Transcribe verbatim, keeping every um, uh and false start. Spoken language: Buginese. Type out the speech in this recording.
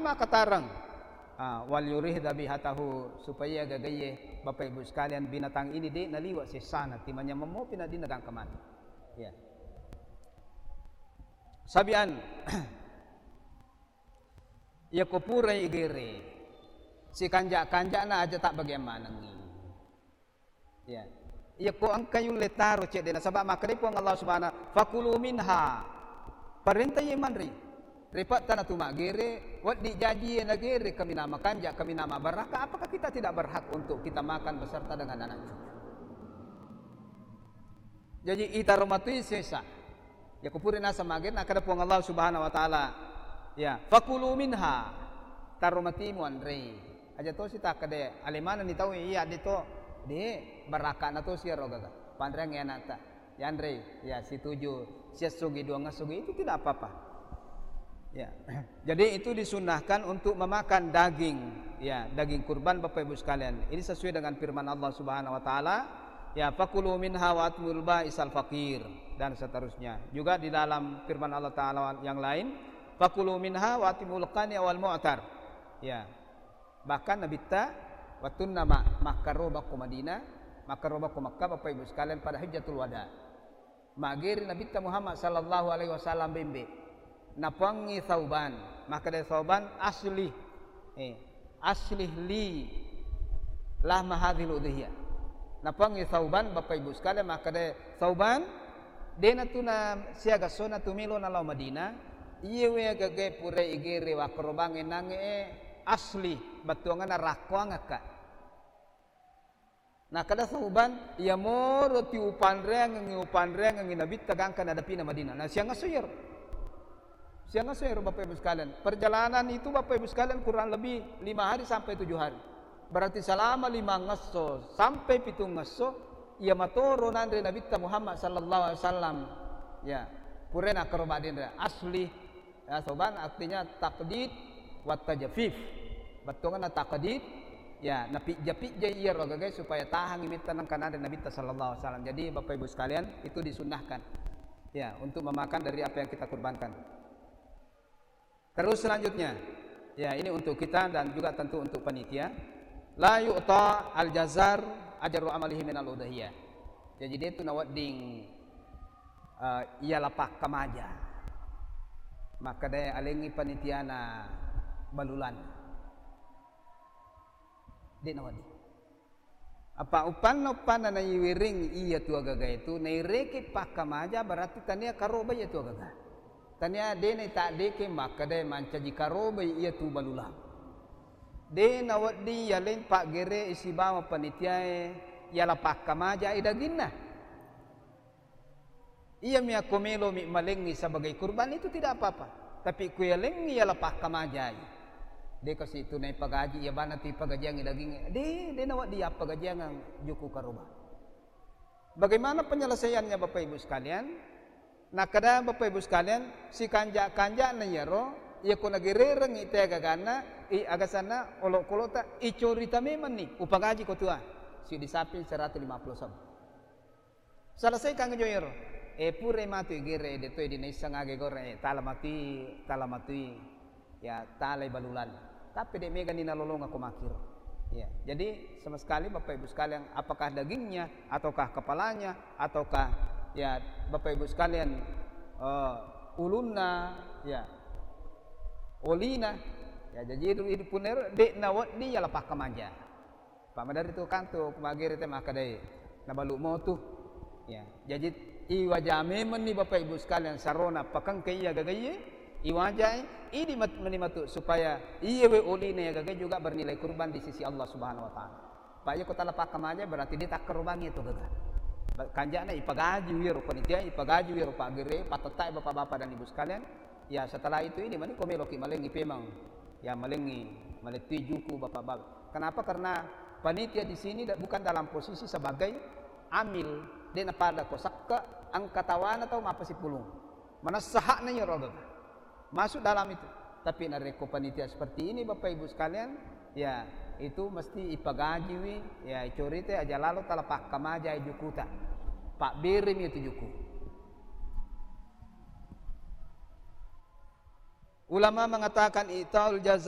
makatareng. Ah, wal yurih dzabihatahu, supaya gagaye, Bapak Ibu sekalian, binatang ini de' naliwa' sessana, timanyameng mopi na dinna gangka mati. Ya. Sabian, iyako purai igere, sikanja'-kanja'na aja tabbagiang manengngi. Ya. Iyako engka yulle taro cedde', nasaba' makkeda Puang Allah Subhanahu, "Fakulu minha." Parenta iye manre. Repa' tana tu maggere, wedding jaji iye nagere, kaminang makanja', kaminang mabarakka', apakah kita tidak berhak untuk kita makan beserta dengan anak cucu? Jaji itaro matui sesa. Iyako pura naseng mage, nakkeda Puang Allah Subhanahu wa Ta'ala, ya, "Fakulu minha," taro matimu anrei. Aja tosi takkeda, ale manenni tau iya de' to, de', barakka'na tosi iyaro gaga. Panreangngi anakta, yanrei, ya, situju, siessogi, duangessogi, itu tidak apa-apa. Ya. Jadi itu disunnahkan untuk memakan daging, ya, daging kurban, Bapak Ibu sekalian. Ini sesuai dengan firman Allah Subhanahu wa Ta'ala, ya, "Fakulu minha wa at'imul ba'isal faqir," dan seterusnya. Juga di dalam firman Allah Ta'ala yang lain, "Fakulu minha wa at'imul qani'a wal mu'tar." Ya. Bahkan Nabitta, wattunna ma-, makkaroba ko Madinah, makkaroba ko Makkah, Bapak Ibu sekalian, pada Hajjatul Wada. Mageri Nabitta Muhammad sallallahu alaihi wasallam bembe. Napuangngi Sauban. Makkeda Sauban, "Aslih." Eh, "Aslih li lahma hadzihil udhiyah." Napuangngi Sauban, Bapak Ibu sekalian, makkeda Sauban, de' natu na siaga sona tu melo nalao Madinah, iye we gagae purai igere wakkarobangnge nangnge, eh, aslih, battuanganna rakkoangakka. Nakkeda Sauban, "Iyamoro ti upanreangengngi, upanreangengngi Nabitta gangka nadapina Madinah." Nah, siangesso iyaro. Siangesso iyaro, Bapak Ibu sekalian. Perjalanan itu, Bapak Ibu sekalian, kurang lebih lima hari sampai tujuh hari. Berarti selama lima ngesso sampai pitung ngesso, iya matoro nanre Nabitta Muhammad sallallahu alaihi wasallam. Ya, pura nakkaroba denre asli. Ya, Sauban artinya takdid wa tajfif. Bettuanna takdid, ya, napijja-pijja iyaro gagae supaya tahangngi metta nengka nanre Nabitta sallallahu alaihi wasallam. Jadi, Bapak Ibu sekalian, itu disunnahkan, ya, untuk memakan dari apa yang kita kurbankan. Terus selanjutnya, ya, ini untuk kita dan juga tentu untuk panitia. La yu'ta al-jazzar ajru amalihi minal udhiyah. Jadi, de' tu nawedding eh, iyala pakkamaja. Makkedae alengngi panitiana balulan. De' nawedding. Apa uppanna-uppanna naiwereng iya tu agaga itu, naireke pakkamaja, berarti tania karoba iya tu agaga. Tania de' naitaddeke makkedae mancaji karoba iya tu balulang. De' nawedding yaleng paggere sibawa panitiae yala pakkamaja daginna. Iyami akko melomi malengngi sebagai kurban, itu tidak apa-apa. Tapi ku yalengngi yala pakkamajai. De' kasi tu naipagaji, iya bana tu ipagajiangngi daging. De', de' nawedding appagajiangang juku karoba. Bagaimana penyelesaiannya, Bapak Ibu sekalian? Nakkeda Bapak Ibu sekalian, sikanja-kanjana iyaro, iya ko nagererengngi te gaganna, i agasanna olokkolota, icorita memenni, upagaji ko tua. Sidi sapi seratus lima puluh sabu. Selesaikan jo ero. Eh, purai matu igere, de' toi dinaisseng age gore, eh, tala matui, tala matui. Ya, talai balulan. Tapi de' megani nalolongako makkiro. Ya, jadi sama sekali Bapak Ibu sekalian, apakah dagingnya, ataukah kepalanya, ataukah, ya, Bapak Ibu sekalian, eh, ulunna, ya, olina. Ya, jadi itu, itu pun ero, de' nawedding yala pakkamaja. Pak, maderri tu kantu, ku magere te makkedai, nabalu motu. Ya, jaji iwaja memenni Bapak Ibu sekalian sarona pakengke iya gagaye, iwajai, idi mat-, meni matu supaya iyewe olina iya gagae juga bernilai kurban di sisi Allah Subhanahu wa Ta'ala. Pak, iya ko tala pakkamaja berarti de' takkarobangi itu gaga. Ba-, kanjana ipagaji wiro panitia, ipagaji wiro pagere, patettai Bapak-bapak dan Ibu sekalian. Ya, setelah itu ini mani ko meloki malengi pemang. Ya, malengi, malettui juku Bapak-bapak. Kenapa? Karena panitia di sini da-, bukan dalam posisi sebagai amil, de' napada ko sakke, engka tawana tau mappasipulung. Manessa hakna iyaro gaga. Masuk dalam itu. Tapi narekko panitia seperti ini, Bapak Ibu sekalian, ya, itu mesti ipagajiwi, ya, icorita aja lalo tala pakkamajai jukuta. Pabberemi itu juku. Ulama mengatakan itaul jaza